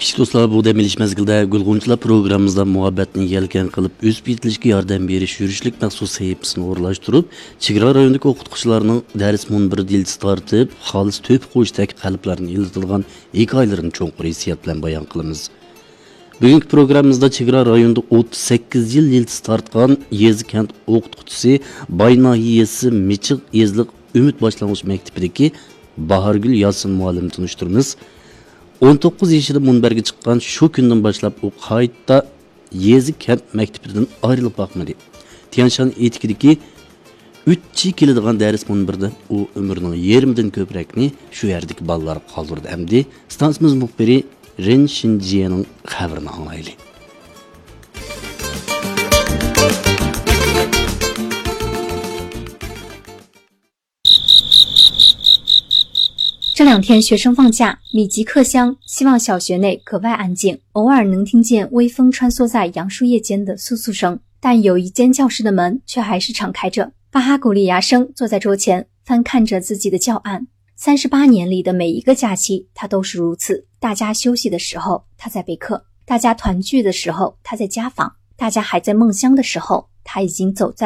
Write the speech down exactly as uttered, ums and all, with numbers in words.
كىچىك دوستلار، بۇ دەم ئېلىش مەزگىلىدە گۈلغۇنچىلار پروگراممىمىزدا مۇھەببەتنى يەلكەن قىلىپ، ئۆسۈپ يېتىلىشكە ياردەم بېرىش يۈرۈشلۈك مەخسۇس سەھىپىسىنى ئورۇنلاشتۇرۇپ، چېگرا رايونىدىكى ئوقۇتقۇچىلارنىڭ دەرس مۇنبىرىدا يىلتىز تارتىپ، خالىس تۆھپە قوشتەك قەلبلەرنى ئىللىتىدىغان ھېكايىلىرىنى چوڭقۇر ھېسسىيات بىلەن بايان قىلىمىز. بۈگۈنكى پروگراممىمىزدا چېگرا رايونىدا ئوتتۇز سەككىز يىل يىلتىز تارتقان يېزا كەنت ئوقۇتقۇچىسى، باي ناھىيەسى مىچىق يېزىلىق ئۈمىد باشلانغۇچ مەكتىپىدىكى باھارگۈل ياسىن مۇئەللىمنى تونۇشتۇرىمىز. ئون توققۇز يېشىدا مۇنبەرگە چىققان شۇ كۈندىن باشلاپ ئۇ قايتا يېزا كەنت مەكتىپىدىن ئايرىلىپ باقمىدى. تيەنشان ئېتىكىدىكى ئۈچ چى كېلىدىغان دەرس مۇنبىرىدە ئۇ ئۆمرىنىڭ يېرىمىدىن كۆپرەكنى شۇ يەردىكى بالىلارغا قالدۇردى. ئەمدى ئىستانسىمىز مۇخبىرى رېن شىنجيەنىڭ خەۋىرىنى ئاڭلايلى. 这两天学生放假，密集客乡，希望小学内格外安静，偶尔能听见微风穿梭在杨树叶间的簌簌声，但有一间教室的门却还是敞开着。巴哈古利亚生坐在桌前，翻看着自己的教案。三十八年里的每一个假期，他都是如此。大家休息的时候，他在备课；大家团聚的时候，他在家访；大家还在梦乡的时候，他已经走在